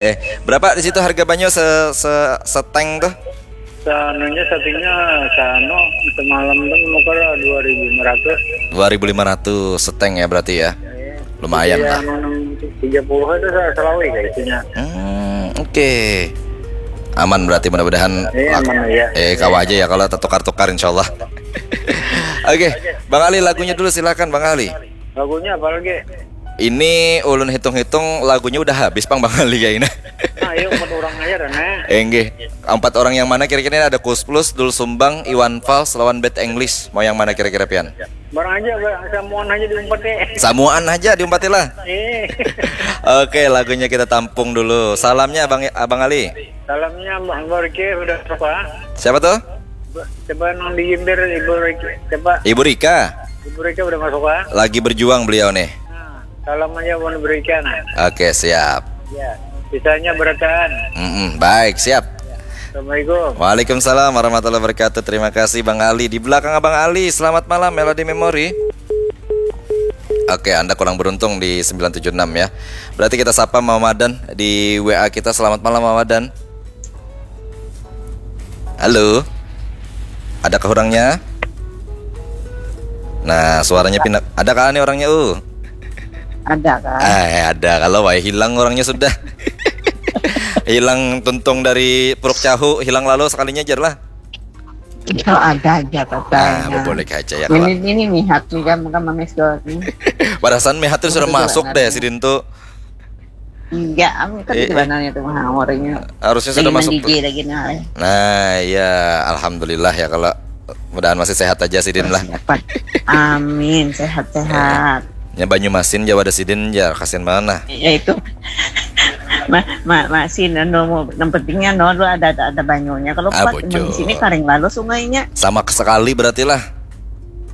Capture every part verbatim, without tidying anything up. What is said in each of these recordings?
Eh, berapa di situ harga banyu se, se seteng tuh? Sanunya satingnya sanu semalam tuh menukar dua ribu lima ratus. Dua ribu lima ratus seteng ya berarti ya. Lumayan lah. Yang tiga puluh itu sa- selawi kayak isinya. Hmm, oke. Aman berarti, mudah-mudahan Iya, lak- aman, iya. Eh, kawa aja ya kalau tertukar-tukar, insyaallah. Oke, Bang Ali, lagunya dulu, silakan, Bang Ali. Lagunya apa lagi? Ini ulun hitung-hitung lagunya udah habis, pang, Bang Ali, kayaknya. Nah, ayo empat orang aja dah nah. Eh, nggih. Empat orang yang mana kira-kira? Ini ada Kus Plus, Dul Sumbang, Iwan Fals lawan Bad English. Mau yang mana kira-kira, pian? Barang aja, ba- samuan aja diumpet deh. Samuaan aja diumpati lah. Eh, Oke, lagunya kita tampung dulu. Salamnya Abang Abang Ali. Salamnya Mbak Borke udah suka. Siapa tuh? Coba nang di Imbir Ibu Rika. Coba Ibu Rika. Ibu Rika udah masuk ah. Lagi berjuang beliau nih. Nah, salam aja buat Ibu Rika nah. Oke, siap. Ya, sisanya berataan. Mm-mm, baik, siap. Assalamualaikum. Waalaikumsalam warahmatullahi wabarakatuh. Terima kasih, Bang Ali. Di belakang Abang Ali, selamat malam, Melody Memory. Oke, Anda kurang beruntung di sembilan tujuh enam ya. Berarti kita sapa Mama Madan di W A kita. Selamat malam, Mama Madan. Halo. Adakah orangnya? Nah, suaranya pindah. Ada kah nih orangnya, uh? Ada kan? Eh, ada. Kalau wae hilang orangnya sudah. Hilang tuntung dari Puruk Cahu, hilang lalu sekalinya aja lah. Itu ada aja katanya. Nah, boleh aja ya Ini kalau. Ini mihat juga muka mames nih. Perasaan mihat tuh sudah Betul, masuk betul. Deh sidin tuh. Enggak, kan Eh, sebenarnya tuh mah orangnya. Harusnya sudah Lagi masuk. Mandi lagi nah. Nah, iya, alhamdulillah ya kalau mudahan masih sehat aja sidin lah. Dapat. Amin, sehat-sehat. Ya, Banyumasin Jawa ada sidin ya, kasihan mana. Ya itu. Ma, ma, masih no, no, yang pentingnya no lu ada ada, ada banyunya. Kalau Ah, kuat bocor. Di sini kering lalu sungainya. Sama sekali berarti lah.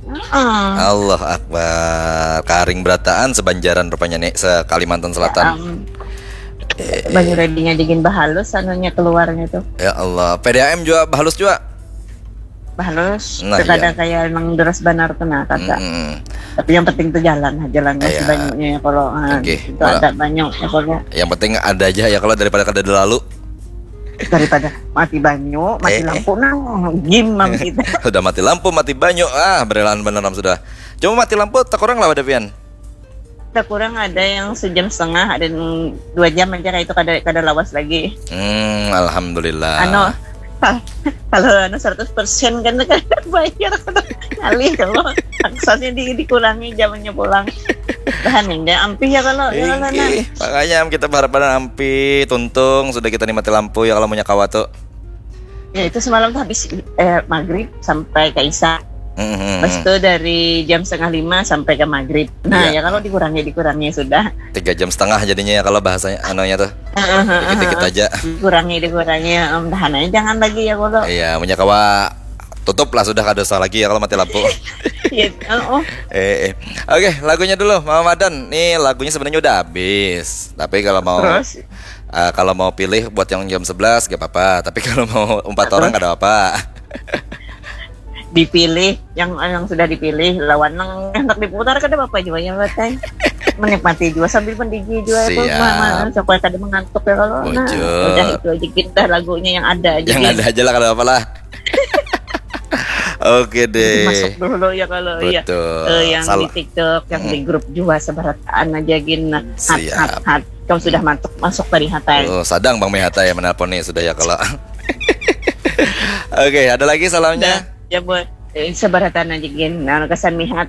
Heeh. Allah Akbar. Karing berataan sebanjaran rupanya nih, se-Kalimantan Selatan. Am, Eh, banyu ready-nya dingin bahalus anunya keluarnya tuh. Ya Allah, P D A M juga halus juga. Bahalus, Nah, kada iya. Kayak emang deras banar tuh nah kata. Mm-mm. Tapi yang penting tuh jalan, jalan masih Iya. Banyak ya kalau ah, Oke, itu malah- ada banyak ya kalau. Yang penting ada aja ya kalau daripada kada ada lalu. Daripada mati banyu, mati Eh, lampu nah gimam kita. Sudah mati lampu, mati banyu, ah, berelahan beneran sudah. Cuma mati lampu tak kurang lah ada pian. Kita kurang ada yang sejam setengah, ada yang dua jam aja kayak itu kada kada lawas lagi. Hmm, alhamdulillah. Anu, kalau anu seratus persen kan kan bayar ngalih kalau taksanya di, dikurangi jamnya pulang. Tahan ya, ampih ya kalau ya kalau nah. Inggih, makanya kita berharap ampih tuntung sudah kita nikmati lampu ya kalau punya kawa tuh. Ya itu semalam tuh habis eh, maghrib sampai ke isya. Hmm, hmm, Pas hmm. Itu dari jam setengah lima sampai ke maghrib. Nah Iya. Ya kalau dikurangi dikurangi sudah. Tiga jam setengah jadinya ya kalau bahasanya anunya tuh. Heeh, heeh, Dikit-dikit heeh. Aja. Dikurangi dikurangi. Em, tahan aja jangan lagi ya kalau. Iya, punya kawa tutup lah sudah kada usah lagi ya kalau mati lampu. Iya, oh, Eh, eh. Oke, lagunya dulu Mama Madan. Nih lagunya sebenarnya udah habis. Tapi kalau mau Terus? eh, kalau mau pilih buat yang jam sebelas gak apa-apa. Tapi kalau mau empat orang gak ada apa. Dipilih yang yang sudah dipilih lawan yang hendak diputar kada apa-apa juga ya Batai. Menikmati juga sambil mendigi juga itu Siap. ma- ma- supaya kada mengantuk ya kalau nah Bujur. Udah itu aja kita lagunya yang ada aja Yang Din. Ada aja lah kalau apa lah. Oke deh. Masuk dulu ya kalau ya Betul. Eh, yang Salah. Di TikTok yang di grup juga seberataan aja gin nah hat Siap. hat hat kau sudah masuk masuk tadi hatai. Oh, sadang Bang Mehata ya menelpon nih sudah ya kalau. Oke, ada lagi salamnya. Ya buat eh, seberataan aja gin nah kesan mihat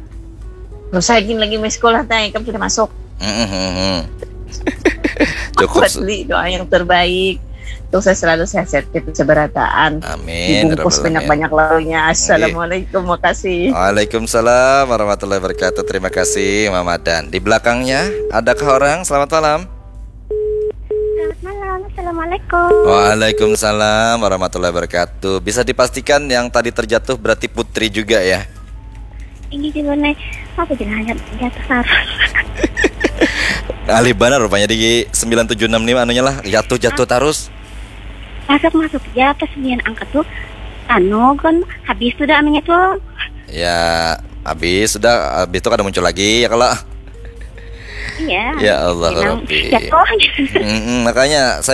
terus gin lagi miss call hatai kamu sudah masuk. Mm, mm, mm, mm. Cukup Buat su- beli doa yang terbaik. Untuk saya selalu sehat-sehat kita seberataan. Amin, Dibungkus Rabbal alamin. Banyak-banyak lalunya. Assalamualaikum, makasih. Waalaikumsalam warahmatullahi wabarakatuh. Terima kasih Mama Dan. Di belakangnya adakah orang? Selamat malam. Selamat malam, assalamualaikum. Waalaikumsalam warahmatullahi wabarakatuh. Bisa dipastikan yang tadi terjatuh berarti Putri juga ya? Ini juga nih, apa jenahnya jatuh sarang. Alih banar rupanya di sembilan tujuh enam nih anunya lah, jatuh-jatuh terus. Masuk masuk ya pas nian angkat tuh, anu kan habis tuh dah anunya tuh. Ya, habis sudah, habis itu kada muncul lagi ya kalau. Iya. Ya Allah Memang Rabbi. Jatuh. Mm-mm, makanya saya